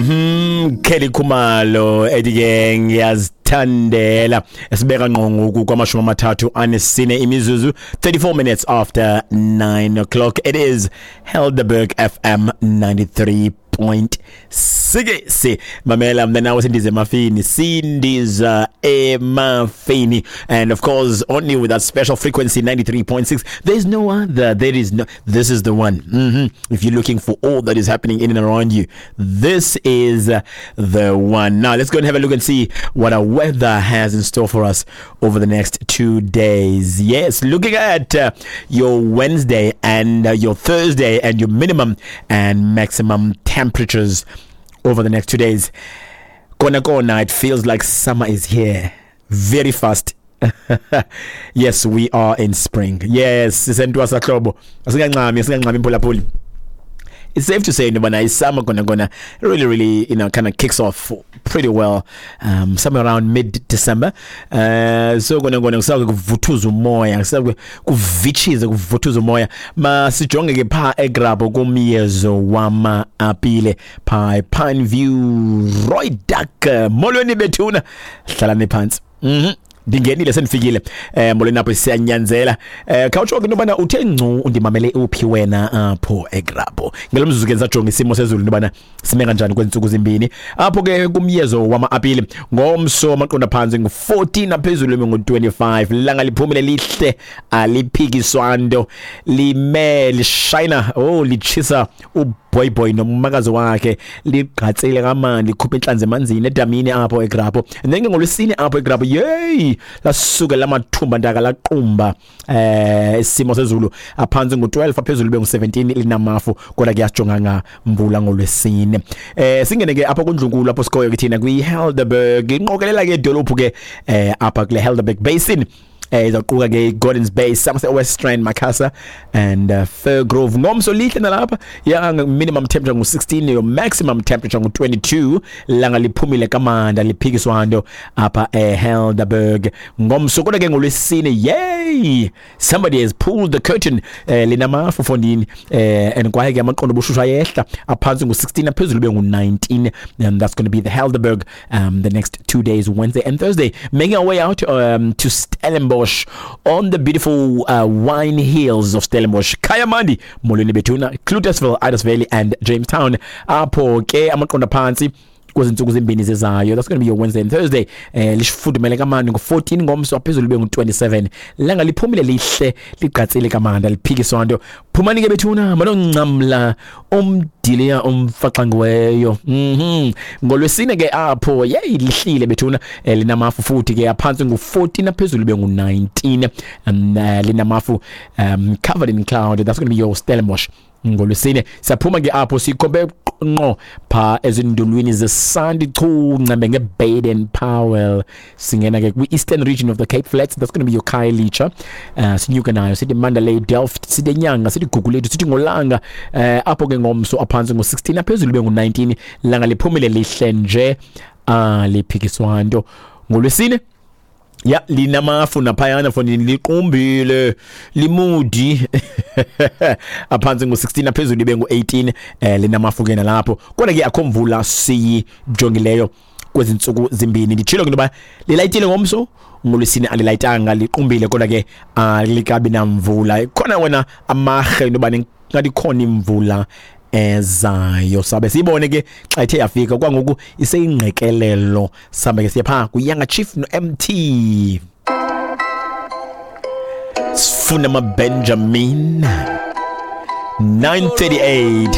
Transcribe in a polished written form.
Kelly Khumalo ethi ke ngiyazithandela, esibeka ngqo ngoku kwamashumi 34 imizuzu, 34 minutes after 9 o'clock. It is Helderberg FM 93.6. Mamela mna nawe, sindiza emafini, sindiza emafini, and of course only with that special frequency, 93.6. There's no other, there is no, this is the one. If you're looking for all that is happening in and around you, this is the one. Now let's go and have a look and see what our weather has in store for us over the next 2 days. Yes, looking at your Wednesday and your Thursday and your minimum and maximum temperatures over the next 2 days. Kona kona, it feels like summer is here very fast. Yes, we are in spring. Yes, sisentwasahlobo, asingancami, asingancami imphulaphuli. It's safe to say into summer gonna gonna really really kind of kicks off pretty well somewhere around mid December. So gonna gonna kusake kuvuthuza umoya, kusake kuvitshize, kuvuthuza umoya. Masijonge ke pha eGrabho kumyezo wama apile pha Pine View, Rooidak. Molweni bethuna, hlalani phansi. Ndingenile, sendifikile. Molweni apho, siyanyanzela. Khawutsho ke into yobana uthe ngcu undimamele uphi wena apho eGrabho ngelo mzuzu ke. Ndisajonga isimo sezulu into yobana sime kanjani kwezi ntsuku zimbini apho ke kumyezo wama-apile. Ngomso amaqondo aphantsi ngu-14, aphezulu ime ngu-25. Langa liphumile lihle, aliphikiswa nto, lime lishayina, oh, litshisa uboyboy nomakazi wakhe, ligqatsile kamandi, likhupha intlanzi emanzini edamini apho eGrabho. And then ke ngolwesine apho eGrabho, yeyi, lasuke lamathumba ntaka laqumba. Isimo sezulu aphantsi ngu-12, aphezulu bengu-17, linamafu, kodwa ke asijonganga mvula ngolwesine. Singene ke apha kundlunkulu apho sikhoyo ke thina kwi-Helderberg, inqokelela ke idolophu ke apha kule Helderberg Basin, izawuquka ke Gordons Bay, Somerset West Strand, Macassar and Firgrove. Ngomso lihle nalapha ya, minimum temperature ngu-16, your maximum temperature ngu-22. Langa liphumile kamanda, liphikiswa nto apha eHelderberg ngomso. Kodwa ke ngolwesine, yay, somebody has pulled the curtain. Linamafu fondini, and kwaye ke amaqondo obushushu ayehla, aphantsi ngu-16, aphezulu bengu-19, and that's going to be the Helderberg the next 2 days, Wednesday and Thursday. Making our way out to Stellenbosch, on the beautiful wine hills of Stellenbosch, Kayamandi, molweni bethuna, Cloetesville, Idas Valley and Jamestown. Apho ke amaqondo aphantsi kwezi ntsuku zimbini zizayo, that's going to be your Wednesday and Thursday, lifudumele kamandi, ngu-14 ngomso, aphezulu bengu-27. Langa liphumile lihle, ligqatsile kamanda, liphikiswa nto. Phumani ke bethuna, manoncamla umdiliya umfaxangiweyo. Ngolwesine ke apho, yeyi, lihlile bethuna. Linamafu futhi ke, aphantsi ngu-14, aphezulu bengu-19. Linamafu, covered in cloud. That's going to be your Stellenbosch ngolwesine. Siyaphuma ke apho, sikhombe ngqo pha ezindulwini zeSandy Chu ncembe ngeBaden Powell. Singena ke kwi-eastern region of the Cape Flats. That's going to be your Khayelitsha. Sinyuke nayo sithi Mandalay, Delft, sithi Nyanga, sithi Gugulethu, sithi Ngolanga. Apho ke ngomso aphantsi ngo-16, aphezulu bengu-19. Langa liphumile lihle nje, liphikiswa nto ngolwesine. Ya, linamafu naphayana fondini, liqumbile, limudi, aphantsi ngu-16, aphezulu ibe ngu-18. Linamafu ke nalapho, kodwa ke akho mvula siyijongileyo kwezi ntsuku zimbini. Nditshilo ke intoba lilayitile ngomso, ngolwesine alilayitanga, liqumbile, kodwa ke alikabi namvula. Khona wena amarhe into yoba ngathi ikhona imvula ezayo, sabe siyibone ke xa ithe yafika. Kwangoku iseyingqekelelo. Sambe ke siye phaa kuYanga Chief no-MT, sifuna amaBenjamin. 9:38.